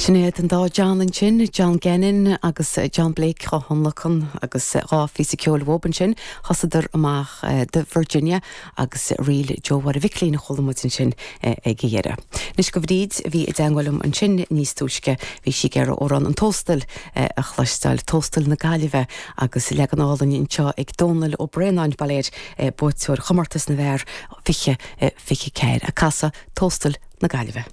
Sin iad an dá John ansin, John Gannon agus John Blake á thionlacan agus dá phíosa ceoil uathub ansin. Thosaíodar amach do Virginia agus Ríl Joe Mháire Mhicilín a chuala muid ansin ag a dheireadh. Anois do Bhríd a bhí i dteangmháil liom ansin níos túisce, bhí sí ag iarraidh amhrán An Tóstal a chloisteáil, Tóstal na Gaillimhe agus leagan álainn anseo ag Dónal Ó Braonáin, bail air, buaiteoir chomórtas na bhfear 20 24, ag casadh Tóstal na Gaillimhe.